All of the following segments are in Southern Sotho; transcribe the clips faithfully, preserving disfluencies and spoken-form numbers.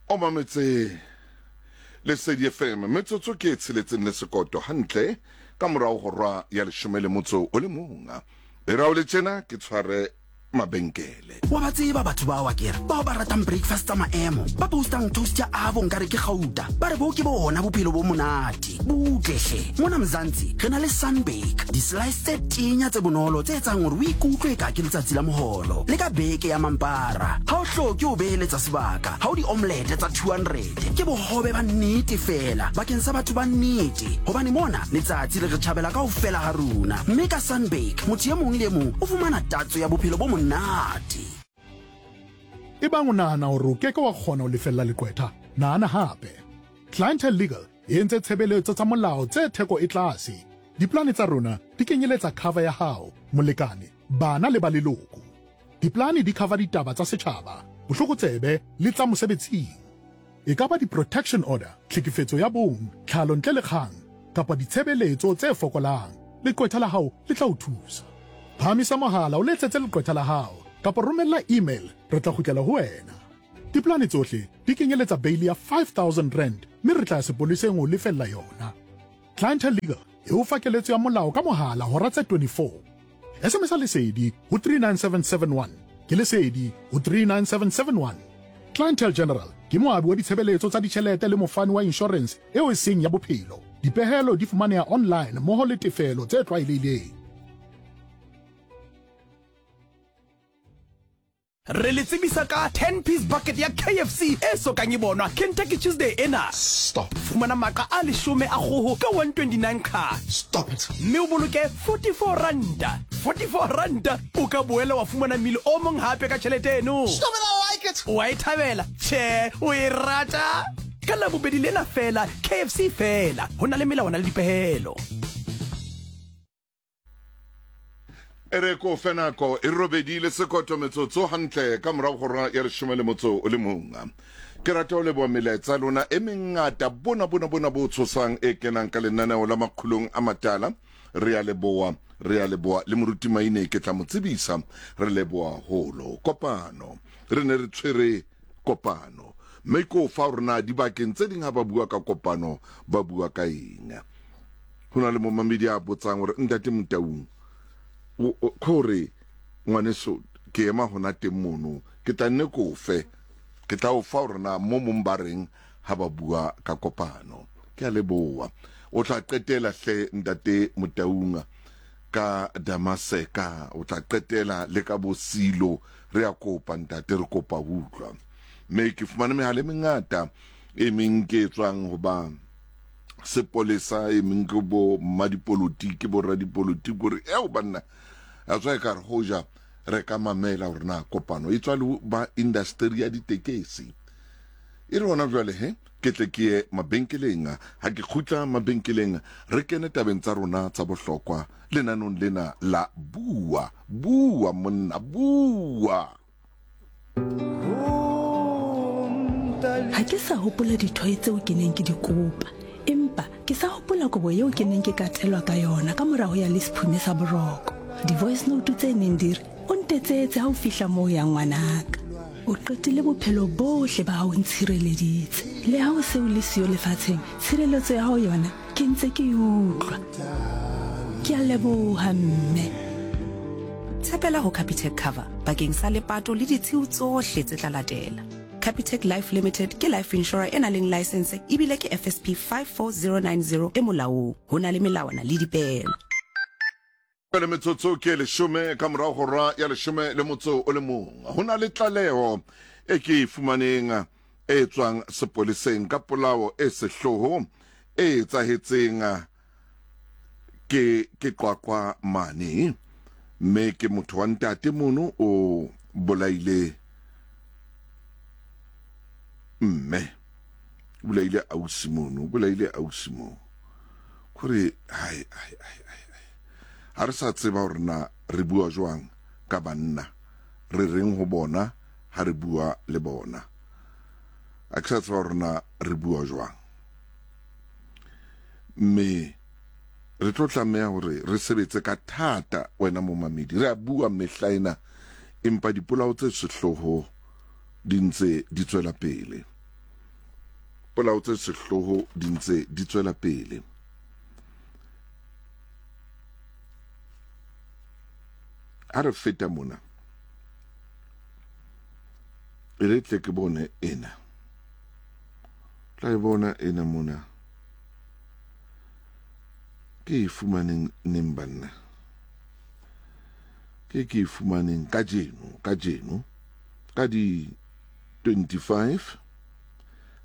O mametse Lesedi F M, metsotso ke e tsheletseng le sekoto hantle ka morao hora ya leshome le motso o le mong. E ra o le tjena ke tshware mabenkele. Wa ba tseba batho bao akere, bao ba ratang breakfast tsa maemo, ba postang toast ya avo nkare ke gauta, ba re bo ke bona bophelo bo monate. Butle hle, mona Mzansi re na le Sunbake, di-slice tse tenya tse bonolo tse etsang hore o ikutlwe ka ke letsatsi la moholo. Le ka beke ya mampara, ha o hloke ho beheletsa sebaka, ha o di-omelette tsa two hundred, ke bohobe ba nnete fela bakeng sa batho ba nnete. Hobane mona letsatsi le re tjhabela kaofela ha rona, mme ka Sunbake motho e mong le e mong o fumana tatso ya bophelo bo monate. Ebang o nahana hore o keke wa kgona ho lefella leqwetha, nahana hape. Clientele Legal e entse tshebeletso tsa molao tse theko e tlase. Diplane tsa rona di kenyeletsa cover ya hao, molekane, bana le ba leloko. Diplane di cover ditaba tsa setjhaba, bohlokotsebe le tsa mosebetsing. E ka ba di-protection order, tlhekefetso ya bong, tlhalo ntle le kgang, kapa ditshebeletso tse fokolang. Leqwetha la hao le tla o thusa. Phahamisa mohala o letsetse leqwetha la hao kapa romella email, re tla kgutlela ho wena. Diplane tsohle di kenyeletsa bail ya five thousand rand mme re tla ya sepoleseng ho lefella yona. Clientele Legal e o fa keletso ya molao ka mohala hora tse twenty-four. S M S Lesedi ho three nine seven seven one. Ke Lesedi ho three nine seven seven one. Clientele General ke moabi wa ditshebeletso tsa ditjhelete le mofani wa insurance eo e seng ya bophelo. Dipehelo di fumaneha online mmoho le tefelo tse tlwaelehileng. Re le tsebisa ka ten piece bucket ya K F C e sokang e bonwa Kentucky Tuesday ena. Stop. Fumana maqa a leshome a kgoho ka one twenty-nine ka. Stop it. Mme o boloke forty-four ranta. forty-four ranta o ka boela wa fumana mmele o mong hape ka tjhelete eno. Stop it, I like it. Wa e thabela? Tjhe, o e rata? Ka Labobedi lena fela, K F C fela. Ho na le melawana le dipehelo. E re ko fe nako e robedi le sekoto metsotso hantle ka morao hora ya leshome le motso o le mong. Ke rata ho leboha melaetsa lona e mengata bona bona bona bo tshosang e kenang ka lenaneo la Makgulong a Matala. Re a leboha, re a leboha le moruti Maine ke tla mo tsebisa, re leboha holo. Kopano, re ne re tshwere kopano. Mme ko fa hore na dibakeng tse ding ha ba bua ka kopano ba bua ka eng. Ho na le momamedi a botsang hore ntate Motaung, kore ngwaneso ke ema hona teng mono, ke tla nne ko fe, ke tla o fa hore na mo mong ba reng ha ba bua ka kopano. Ke a leboha. O tla qetela hle ntate Motaung ka Damaseka, o tla qetela le ka Bosilo. Re a kopa ntate, re kopa ho utlwa. Mme ke fumane mehala e mengata e meng ke e tswang ho ba sepolesa, e meng ke bo mmadipolotiki, bo radipolotiki, hore eo banna a tswa e ka re hoja re ka mamela hore na kopano e tswa le ba industry ya ditekesi. E re hona jwale he ke tle ke ye mabenkeleng. Ha ke kgutla mabenkeleng re kene tabeng tsa rona tsa bohlokwa lenanong lena la Bua. Bua monna, bua. Ha ke sa hopola dithoe tseo ke neng ke di kopa, empa ke sa hopola kobo eo ke neng ke ka tlelwa ka yona ka morao ya le sephume sa boroko. Di-voice note tse neng di re, o ntetsetse ha o fihla moo ya ngwanaka. O qetile bophelo bohle ba hao ntshireleditse. Le ha o se o le siyo lefatsheng, tshireletso ya hao yona ke ntse ke e utlwa. Ke a leboha mme. Tshepela ho Capitec Cover bakeng sa lepato le ditshiu tsohle tse tla latela. Capitec Life Limited ke life insurer e nang le license ebile ke F S P five four zero nine zero e molaong. Ho na le melawana le dipehelo. Pele metsotso ke leshome ka morao hora ya leshome le motso o le mong. Ho na le tlaleho e ke e fumaneng e tswang sepoleseng ka polao e sehloho e etsahetseng ke ke Qwaqwa mane. Mme ke motho wa ntate mono o bolaile mme, o bolaile ausi mono, o bolaile ausi mo. Kore hai hai hai hai. Ha re sa tseba hore na re bua jwang ka banna, re reng ho bona ha re bua le bona. Ha ke sa tseba hore na re bua jwang. Mme re tlo tlameha hore re sebetse ka thata wena momamedi. Re a bua mehla ena, empa dipolao tse sehloho di ntse di tswela pele. Polao tse sehloho di ntse di tswela pele. Ha re feta mona, e re tle ke bone ena. Tla e bona ena mona. Ke e fumaneng neng banna? Ke ke e fumaneng kajeno, kajeno ka di twenty-five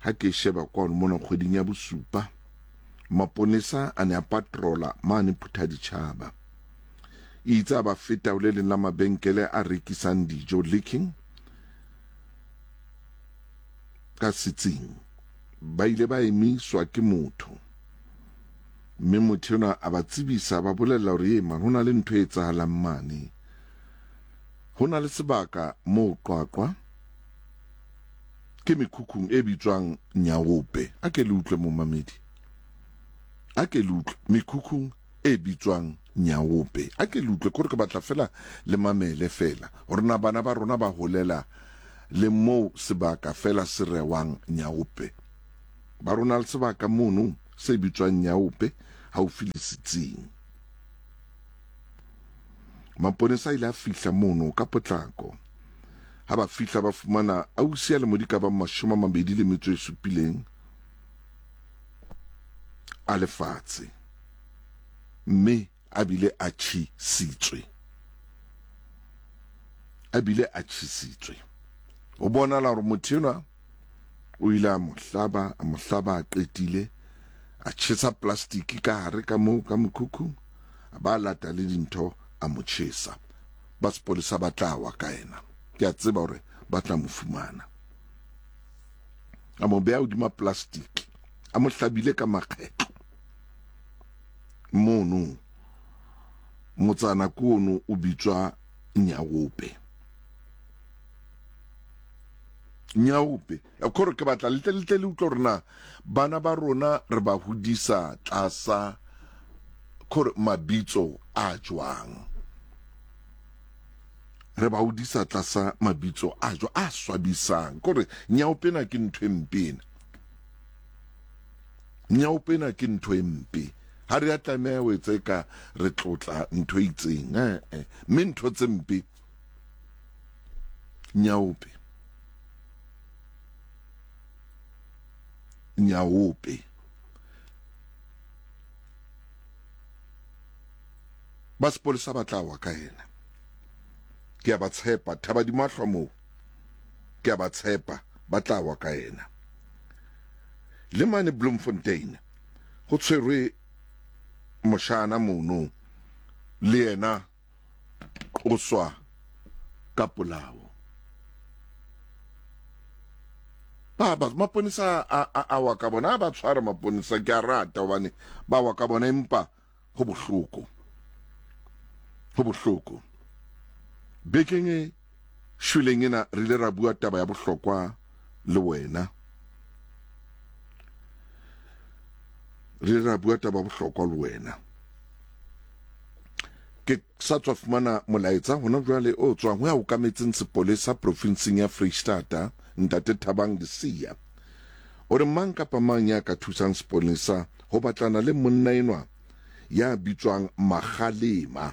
ha ke sheba kwano mona kgweding ya bosupa, maponesa a ne a patrola mane Phuthaditjhaba. Itse a ba feta ho le leng la mabenkele a rekisang dijo Licking ka setsing. Ba ile ba emiswa ke motho, mme motho enwa a ba tsebisa, ba bolella hore e man, ho na le ntho e etsahalang mane. Ho na le sebaka moo Qwaqwa ke mekhukhung e bitswang Nyaope. A ke le utlwe momamedi, a ke le utlwe mekhukhung e bitswang Nyaope. A ke le utlwe, kore ke batla fela le mamele fela hore na bana ba rona ba holela le moo sebaka fela se rewang Nyaope. Ba rona le sebaka mono se bitswang Nyaope haufi le setsing. Maponesa a ile a fihla mono ka potlako. Ha ba fihla ba fumana ausi a lemo di ka bang mashome a mabedi le metso e supileng a lefatshe, mme a bile a tjhisitswe. A bile a tjhisitswe. Ho bonahala hore motho enwa o ile a mo hlaba, a mo hlaba a qetile, a tjhesa plastiki ka hare ka moo ka mokhukhung, a ba lata le dintho a mo tjhesa. Ba sepolesa ba tla wa ka yena. Ke a tseba hore ba tla mo fumana. A mo beha hodima plastiki, a mo hlabile ka makgetlo. Mono motsana kono o bitswa Nyaope. Nyaope. Kore ke batla le tle le tle le utlwe hore na bana ba rona re ba hodisa tlasa kore mabitso a jwang. Re ba hodisa tlasa mabitso a jwang a swabisang. Kore nyaope na ke ntho e mpe ena. Nyaope na ke ntho e mpe. Ha re a tlameha ho etsa eka re tlotla ntho e itseng, eh, eh. Mme ntho tse mpe nyaope. Nyaope. Ba sepolesa ba tla wa ka yena. Ke a ba tshepa, thaba di mahlwa moo. Ke a ba tshepa, ba tla wa ka yena. Le mane Bloemfontein ho tshwerwe moshana mono, le yena qoswa ka polao. Ba ba maponesa a a a wa ka bona, ba tshwara maponesa, ke a rata hobane ba wa ka bona, empa ho bohloko. Ho bohloko. Bekeng e shweleng ena re ile ra bua taba ya bohlokwa le wena. Re ile ra bua taba ya bohlokwa le wena. Ke sa tswa fumana molaetsa hona jwale o tswang ho ya okametseng sepolesa profinseng ya Freistata, Ntate Thabang Lesia. O re mang kapa mang ya ka thusang sepolesa ho batlana le monna enwa ya bitswang Magalema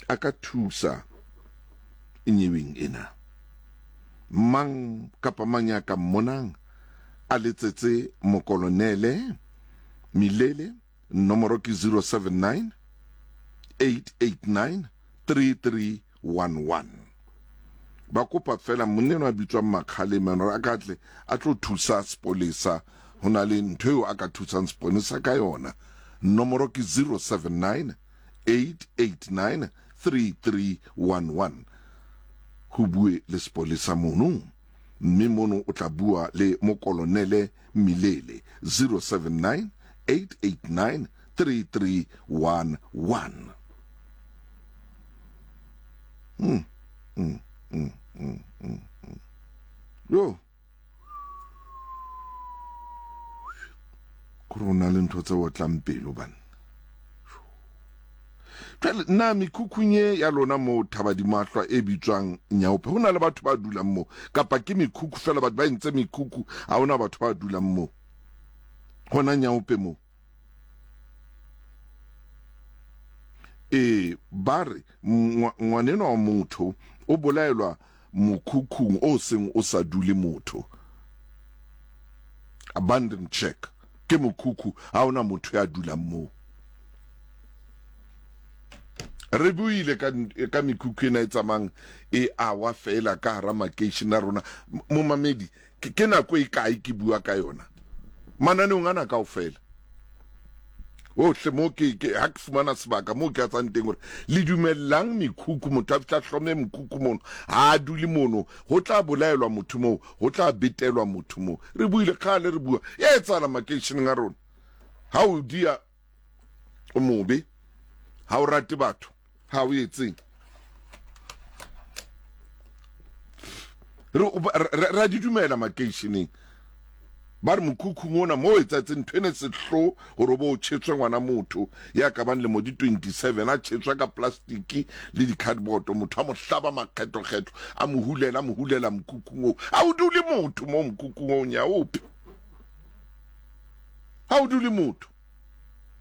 a ka thusa nyeweng ena. Mang kapa mang ya ka mmonang a letsetse mokolonele Milele, nomoro ke zero seven nine eight eight nine three three one one. Ba kopa fela monna enwa a bitswang Makgalema hore a ka tle a tlo thusa sepolesa. Ho na le ntho eo a ka thusang sepolesa ka yona. Nomoro ke zero seven nine eight eight nine three three one one. Ho bue le sepolesa mono, mme mono o tla bua le mokolonele Milele, zero seven nine eight eight nine three three one one. Mm, mm, mm, mm, mm, mm. Yo. Kore o na le ntho tse otlang pelo banna. Jwale na mekhukhung ye ya lona moo Thabadimahlwa e bitswang Nyaope, ho na le batho ba dulang moo kapa ke mekhukhu fela? Batho ba entse mekhukhu, ha hona batho ba dulang moo hona Nyaope moo. Ee, ba re ngwanenwa wa motho o bolaelwa mokhukhung o seng o sa dule motho. Abandon check ke mokhukhu, ha hona motho ya dulang moo. Re buile ka, ka mekhukhu ena e tsamayang e awa fela ka hara makeishene a rona. Momamedi, ke, ke nako e kae ke bua ka yona mananeong ana kaofela ohle mo ke, ke ha ke fumana sebaka moo ke atsang teng hore le dumellang mekhukhu, motho a fihla hlome mokhukhu mono, ha a dule mono, ho tla bolaelwa motho moo, ho tla betelwa motho moo. Re buile kgale re bua, e etsahala makeisheneng a rona. Ha o dia o mobe, ha o rate batho, ha o etseng. Re ra di dumela makeisheneng. Ba re mokhukhung ona moo etsaetseng ntho ene sehlo hore o bo o tjhetswe ngwana motho ya ka bang lemo di twenty-seven, a tjhetswe ka plastiki le di-cardboard, motho a mo hlaba makgetho-kgetho, a mo hulela, a mo hulela mokhukhung oo. Ha o dule motho moo mokhukhung oo, Nyaope. Ha o dule motho.